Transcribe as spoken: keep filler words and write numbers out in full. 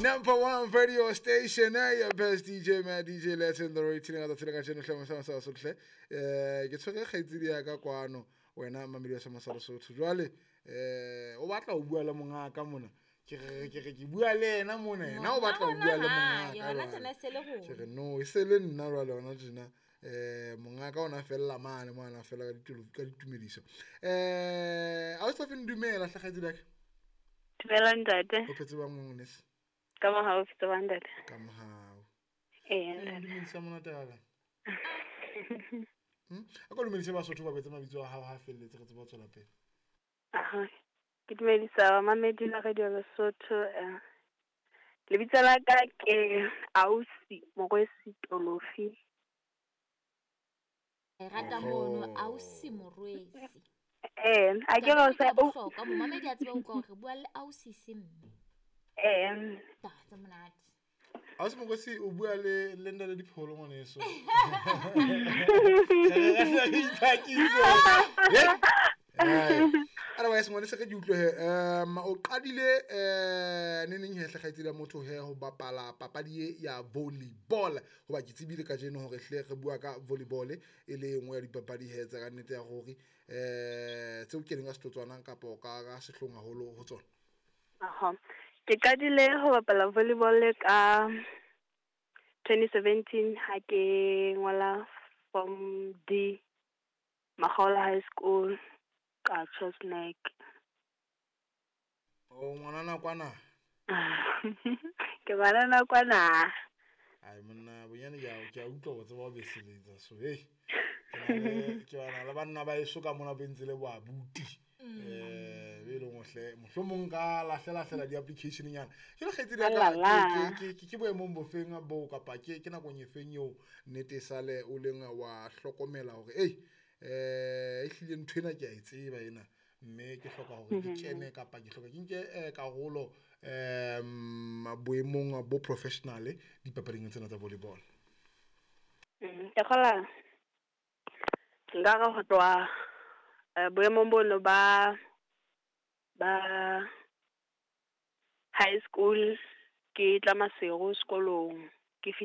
Number one radio station, eh, your best D J, man, D J Let's in the rating ka tsela ka jeno hle mosama sa sohle. Eh ke tshwere kgaitsedi ya ka kwano wena mamedi wa Sama sa Lesotho. Jwale eh o batla ho bua le mongaka mona. Ke re ke re ke bua le yena mona, yena o batla ho bua le mongaka. Yona tsena se le go. Ke re no, e se le nna jwale yona tjena. Eh mongaka ona fella mane mona fella ka ditolo ka ditumediso. Eh a o sa feng dumela hle kgaitsedi ya ka. Dumela ntate. O phetse ba ngwe? Ka mohau fitse ba ntate. Ka mohau. Eh ntate. Dumedisa monate wa ka. Hm? A ko dumedise Basotho ba betse mabitso a hao ha felletse re tseba ho tswela pele. Aha. Ke dumedisa mamedi la Radio Lesotho. Eh. Lebitso la ka ke Ausi Morwesi Tolofi. E rata mono Ausi Morwesi. Eh, a ke re sa o hloka momamedi a tseba ho utlwa hore re bua le Ausi Semme. Eh, ta tsa monate. Ausi Morwesi o bua le le nda le dipholo ngwaneso. Otherwise ngwaneso ke utlwe he um o qadile eh ne neng he hle kgaitsedi ya motho he ho bapala papadi ya volleyball hoba ke tsebile ka jeno hore hle re bua ka volleyball e le engwe ya dipapadi he tsa ka nnete ya hore eh tseo ke leng ka setotswana kapa ka ka sehlong haholo ho tsona. Aha. Ke qadile ho bapala volleyball ka twenty seventeen ha ke ngola form D Makgaola High School ka Chosnek. O ngwana kwana? Ke ngwana kwana. Ai monna bonyane ke a ke a utlwa go tseba o beseletsa so hey. Ke na le ke bana le banna ba eso ka mona bentse le bo abuti. Eh be le ngohle mohlomong ka lahlela hlela di application nyana. Ke le kgaitsedi ya ka ke ke ke boemong bofeng bo kapa ke ke nakong e feng eo nnete sale o leng wa hlokomela hore ei eh e hlile ntho ena ke a e tseba ena mme ke hloka hore ke kene kapa ke hloka ke nke karolo em boemong bo professional dipapading tsena tsa volleyball. Ke khola nka re ho tloha boemong bono ba ba high school ke tla Maseru sekolong.